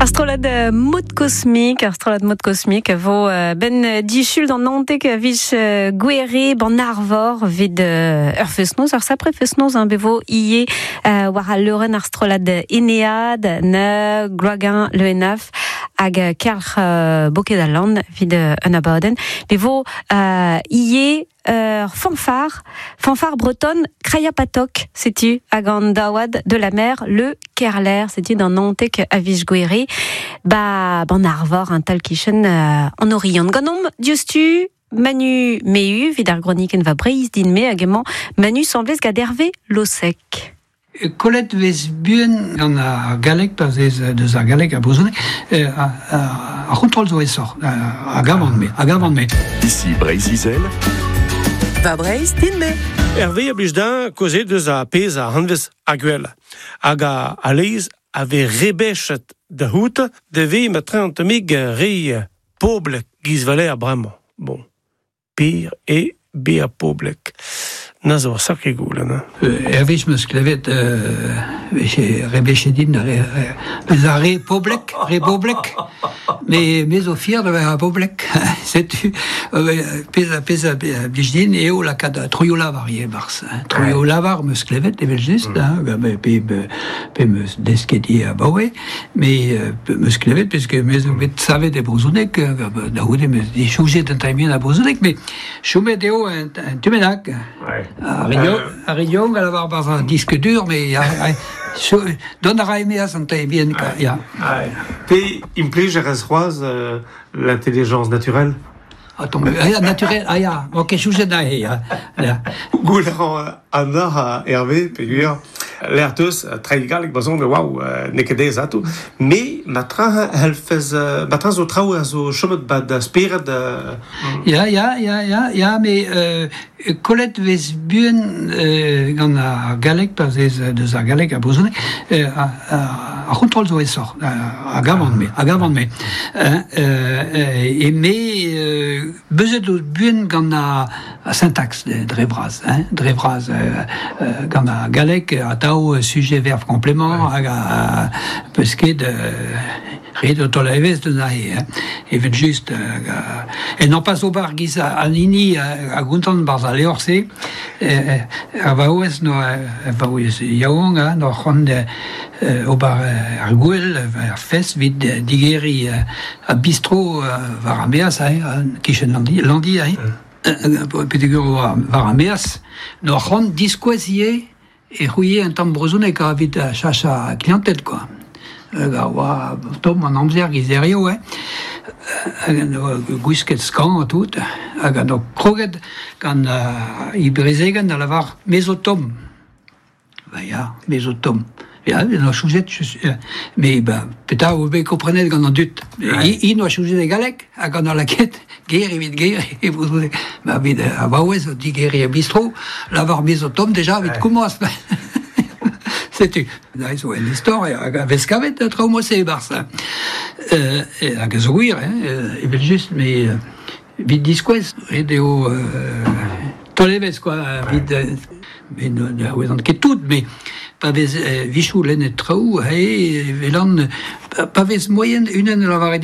Ar strollad Mod Cosmic, ar strollad Mod Cosmic a vo ben disul d'an 19 a viz Gouere ban Arvor 'vit ur fest-noz, ur sapre fest-noz hein, bet vo ivez war al leurenn ar strollad Enead, na Gloaguin Le Henaff hag Kelc'h Boked al Lann 'vit un abadenn. Bet vo ivez ur fanfare, fanfare bretonne Krayapatok, setu, hag an daouad de la mer Le Kerler, setu d'an 19 a viz Gouere, ba ban Arvor, un tal kichen an Oriant. Ganeomp diouzhtu Manu Mehu, evit ar gronikenn va Breizh din-me, hag emañ Manu Semblez gant Hervé Losec. Kollet 'vez buan gant ar galleg pa vez deus ar galleg ar brezhoneg ar c'hontrol zo aesoc'h a gavan-me a gavan-me. Ici Breizh-Izel. Va Breizh din-me. Hervé a blij din kaozeal deus ar pezh a anvez ar gwell hag a lez a vez rebechet da c'hoût da vez ma traoñ tammig re poblek giz Valère bremañ. Bon. Pir eo bezañ poblek. Na zo ur sakre goulenn. Hein. Hervez 'm eus klevet vije rebechet din bezañ re poblek, re boblek, met me zo fier da vezañ poblek. Setu pezh pezh a blij din eo lakaat troioù-lavar ivez e-barzh. Troioù-lavar 'm eus klevet evel-just, hein, pe pe 'm eus desket ivez abaoe. Me 'meus klevet peske me zo bet savet e brezhoneg, da c'houde 'meus disoñjet un tamm a brezhoneg, met chomet eo un tu bennak. Ar re yaouank a lavar 'barzh an disque dur, mais dont a ra e-maez an tamm bihan, ya. Pe implij a rez c'hoazh l'intelligence naturelle? Attends, ah, naturel, ah ya, ok, soñjet aze, ya. ya. Goulenn a Anna Hervé, peogwir lec'h teus treiñ galleg brezhoneg, waouh, n'eo ket aes ato. Me, ma-tra c'hellfes, ma-tra zo traoù a zo chomet 'ba da spered. Ya, ya, ya, ya, ya, mais kollet 'vez buan gant ar galleg pa vez deus ar galleg ar brezhoneg ar c'hontrol zo aesoc'h a gavan-me a gavan-me e me beuzet out buan gant ar syntaxe dre vras hein dre vras gant ar galleg atav sujet verbe complément hag peus ket Ret eo taol evezh deus aze, hein. Evel-just, en nompas ober giz an hini a gontan 'barzh al levr-se, ar vaouez 'noa ar vaouez yaouank hein, 'noa c'hoant ober ar gouel, ar fest 'vit digeriñ ar bistro war ar maez aze, kichen Landi, Landi aze, peogwir oa war ar maez, 'noa c'hoant diskouez ivez e c'houie un tamm brezhoneg evit chachañ klianted kwa. Hag a oa tomm an amzer giz hiziv hein. Hag en doa gwisket skañv ha tout. Hag en doa kroget gant e brezegenn da lavar me zo tomm. Ba ya, me zo tomm. Ya, en doa soñjet, mais ben, petra a vo bet komprenet gant an dud. Int oa soñjet e galleg hag an doa lakaet ger evit ger e brezhoneg. Ma evit ar vaouez o digeriñ er bistro, lavar me zo tomm deja evit komañs. Setu, aze zo un istor hag a vez kavet traoù mod-se e-barzh. Hag a zo gwir, hein, evel-just, mais evit diskouez, ret eo taol evezh quoi, evit met ne ouezan ket tout, mais pa vez vichoù lennet traoù, e welan pa vez moaien unan a lavare din.